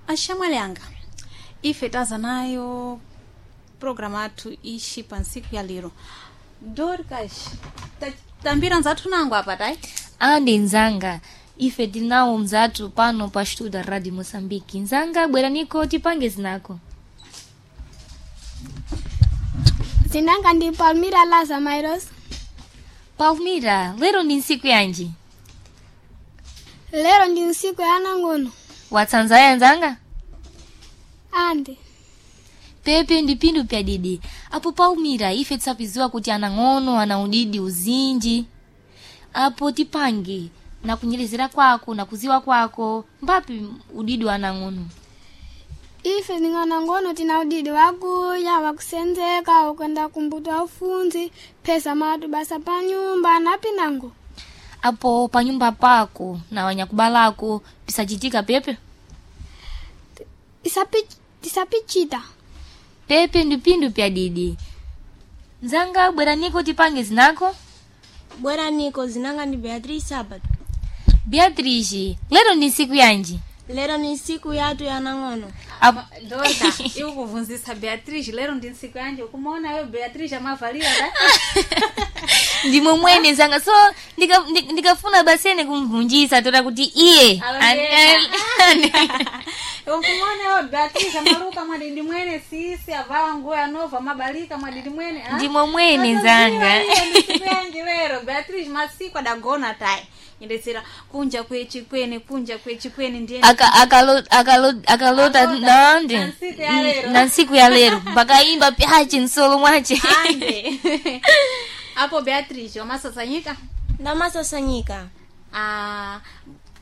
Axamwali anga ife taza nayo programu athu ixi pa ntsiku ya lero. Dorcas, tambira nzathu nango apa tayi. Andi nzanga, ife tinawo mzathu pano pa Studa Radio Moçambique. Nzanga, bweraniko tipange zinako. Zinanga ndi Palmira Laza Mairos. Palmira, lero ndi ntsiku yanji? Lero ndi ntsiku ya anangono. Watsanzaya nzanga? Andi. Pepe ndi pindu pya didi. Apo Palmira, ife tisapiziwa kuti anang'ono ana udidi uzinji. Apo tipange na kunyerezera kwako na kuziwa kwako mbapi udidi wa anang'ono. Ife nding'anangono tina udidi wakuya, wakusenzeka, wakwenda kumbuto aufunzi, phesa matu basa pa nyumba na pinango. Apo panyumba pako na wanyakubalako pisachitika pepe? Tisapichita. Pepe ndi pindu pya didi. Nzanga, bweraniko tipange zinako. Bweraniko, zinanga ndi Beatrice Sabato. Beatrice, lero ndi ntsiku yanji? Lero ni ntsiku yathu ya anang'ono. Apo Dorca, iwe kuvunzisa Beatrice lero ndi ntsiku yanji, ukumaona yo Beatrice amavalira ta? Ndimwe mwene nzanga, so ndikafuna basene kumvunjisa tola kuti iye Ukumaona yo Beatrice amaluka mwadidi mwene sisi avala nguo ya nova mabalika mwadidi mwene. Ah? Ndimwe mwene nzanga. Ndi ntsiku yanji lero Beatrice masiku adagona tayi. Indetsera kunja kwechikwene, kunja kwechikwene ndiye. Akalota Akalota, nande na ntsiku ya lero. Na ntsiku ya lero mpakaimba pyache nsolo mwache. Ande. Apo Beatrice wamasasanyika? Ndamasasanyika. Ah,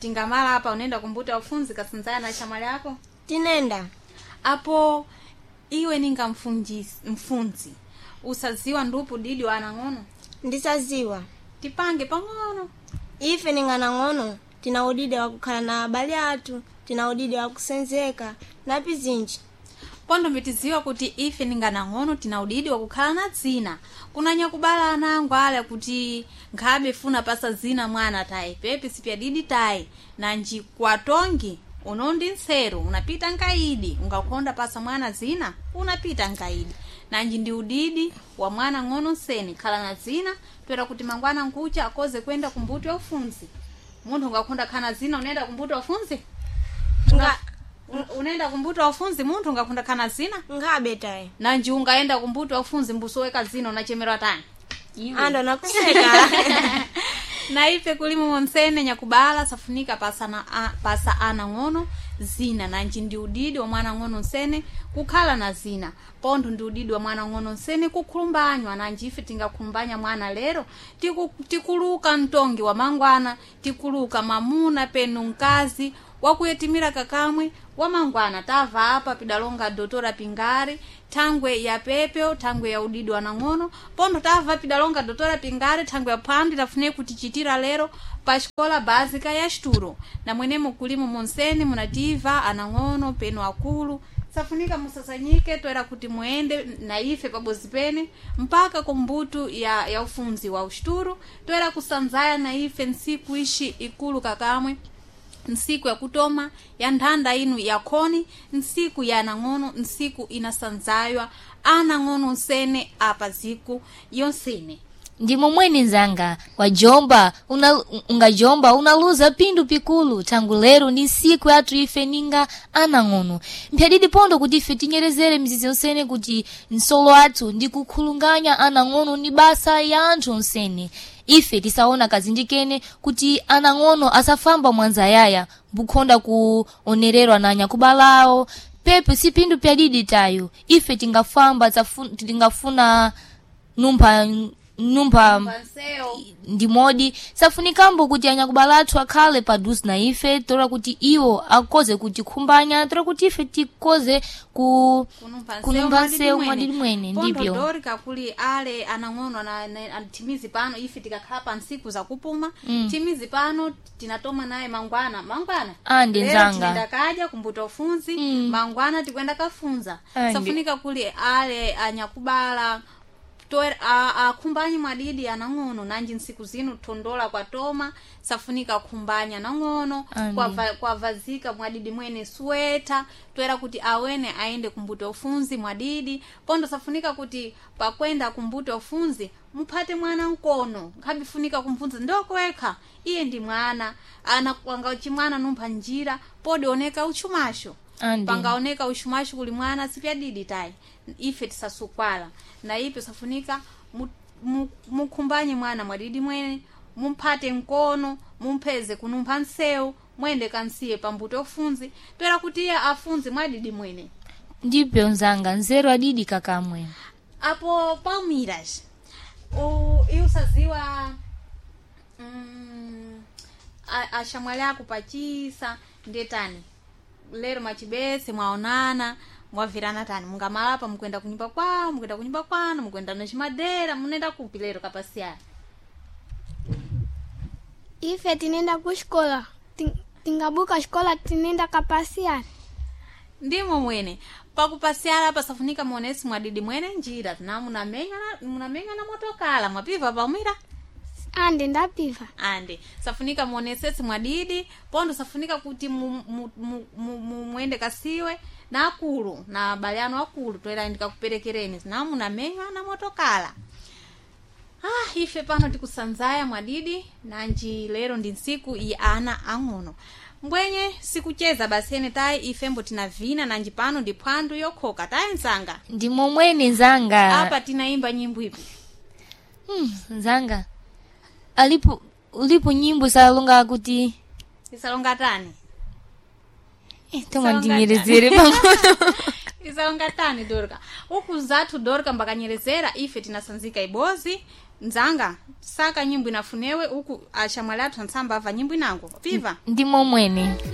tingamala apa unaenda kumbuta ufunzi kasinzana na chamwali yako. Tinenda. Apo iwe ninga mfunzi usaziwa ndupu didi wa anang'ono? Ndisaziwa. Tipange pang'ono. Ife ninganang'ono tina udidi wakukhala na abale athu, tina udidi wakusenzeka na pizinji. Pondo mbitiziwa kuti ife ninganang'ono tina udidi wakukhala na dzina. Kunanya kubala anango ale kuti nkhabe funa pasa zina mwana tayi pepe sipya didi tayi nanji kwatongi unondi nseru unapita nkaidi ungakonda pasa mwana zina unapita nkaidi nanji ndi udidi wa mwana ng'ono nseni khala na zina toera kuti mangwana nkucha akoze kwenda kumbuto ya ufunzi. Munthu ungakonda khala na zina unaenda kumbuto ya ufunzi? Nga Unaenda kumbuto wa ufunzi munthu ungakunda khana zina? Nkhabe tayi. Nanji ungaenda kumbuto wa ufunzi mbusoweka zina unachemerwa tani? Ando nakuseka. Na ife kulimo monsene nyakubala safunika pasa, na, pasa ana ng'ono zina nanji ndi udidi wa mwana ng'ono nsene kukhala na zina. Pontho ndi udidi wa mwana ng'ono nsene kukhulumbanywa nanji ife tingakhulumbanya mwana lero tikuluka mtongi wa mangwana, tikuluka mamuna penu mkazi wakuyetimira kakamwe wa mangwana. Tava apa pidalonga Dotora Pingare thangwe ya pepeo, thangwe ya udidi wa nang'ono. Pontho tava pidalonga Dotora Pingare thangwe ya phwando tafune kutichitira lero pa xikola básica ya Xituro. Na mwenemo kulimo monsene munativa anang'ono penu akulu safunika musasanyike toera kuti muende na ife pabozi pene mpaka kumbutu ya ufunzi wa uxituro toera kusanzaya na ife ntsiku ixi ikulu kakamwe, ntsiku yakutoma ya nthanda inu yakhoni, ntsiku ya anang'ono, ntsiku inasanzaywa anang'ono nsene apa ziku yonsene. Ndimo mwene nzanga, wajomba ungajomba unaluza pindu pikulu tangu lero ndi ntsiku yathu ife ninga anang'ono. Mpyadidi pondo kuti ife tinyerezere mizizi yonsene kuti nsolo athu ndi kukhulunganya anang'ono ni basa ya anthu onsene. Ife tisaona kazindikene kuti anang'ono asafamba mwanzayaya mbukhonda kuonererwa na anyakubalawo. Pepe si pindu pyadidi tayo ife tingafamba tingafuna numpha numpha ndimodi safunikambo kuti anyakubala athu akhale paduze na ife tola kuti iwo akoze kutikhumbanya tola kuti ife tikoze ku kunumba nsewu mwadidi mwene. Ndipyo Dorika kuli ale anang'ono timizi pano ife tikakhala pa ntsiku zakupuma. Timizi pano tinatoma naye mangwana mangwana. Andi Lero nzanga. tinaenda kadya kumbuta ufunzi. Mangwana tikwenda kafunza. Andi. Safunika kuli ale anyakubala Akhumbanye mwadidi anang'ono nanji nsiku zino thondola kwa toma safunika khumbanya nang'ono. Andi. Kwavazika mwadidi mwene sweta twera kuti awene aende kumbuto ufunzi mwadidi pondo safunika kuti pakwenda kumbuto ufunzi muphate mwana mkono nkhabifunika kumfunza ndokwekha iye ndi mwana ana kwanga chimwana numpha njira podioneka uchumasho. Andi. Pangaoneka uchumasho kuli mwana sipyadidi tayi ife tisasukwala na ipe safunika mukhumbanye mwana mwadidi mwene mumphate mkono mumpheze kunumpha nsewu mwende kansiye pambuto ufunzi toera kuti iye afunzi mwadidi mwene. Ndipyo nzanga, nzeru adidi kakamwe. Apo palmiras iusaziwa ashamwali ako pachisa ndetani lero machibese mwaonana mwavirana tani mungamalapa mukwenda kunyumba kwawo mukwenda kunyumba kwanu mukwenda nachimadera munenda kupi lero kapasiyana? Ife tinenda kuxikola. Tingabuka xikola tinenda kapasiyana. Ndimo mwene pakupasiyana pasafunika muonesi mwadidi mwene njira na munamenya na motokala mwapiva pamwira. Andi, ndapiva. Ande safunika muonesesi mwadidi pondo safunika kuti muende kasiwe na akulu na abale anu akulu toera ndikakuperekereni na munamenya na motokala. Ah, ife pano tikusanzaya mwadidi nanji lero ndi ntsiku iyi ana ang'ono mbwenye sikucheza basene tayi ifembo tinavina nanji pano ndi phwandu yokhoka tayi nzanga. Ndimo mwene nzanga. Apa tinaimba nyimbo ipi? Nzanga alipo ulipo nyimbo salonga kuti Isalonga tani? Toma ndinyerezere pang'ono. Isalonga tani Dorka uku zathu Dorka mbakanyerezera ife tinasanzika ibozi nzanga saka nyimbo inafunewe uku achamwali athu antsamba ava nyimbo inango piva. Ndimo mwene.